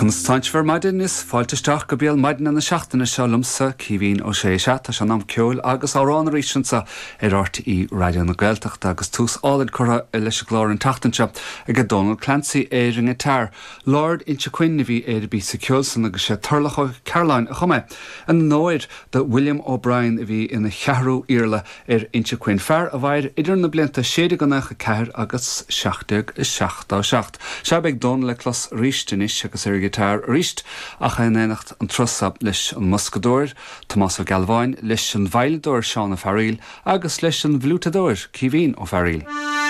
Conas tánn sibh ar maidin? Is fáilte isteach go béal maidine na seachtaine seo liomsa, Caoimhín Ó Sé. Sea, tá sé in am ceoil agus amhrán arís anseo ar RTÉ Raidió na Gaeltachta agus tús álainn curtha leis an gclár an tseachtain seo ag Dónal Clancy ar an ngiotár. Lord Inchiquin a bhí ar an bpíosa ceoil san agus sé Turlough Ó Cearláin a chum é. In onóir do William O'Brien a bhí ina cheathrú Iarla ar Inchiquin, fear a mhair idir na blianta 1694 agus 1777. Sea, beidh Dónal le clos arís anois agus ar an ghiotár arís ach é in éineacht an turas seo leis an mboscadóir, Tomás Ó Gealbháin, leis an veidhleadóir Seán Ó Fearaíl agus leis an bhfliúiteadóir, Caoimhín Ó Fearaíl.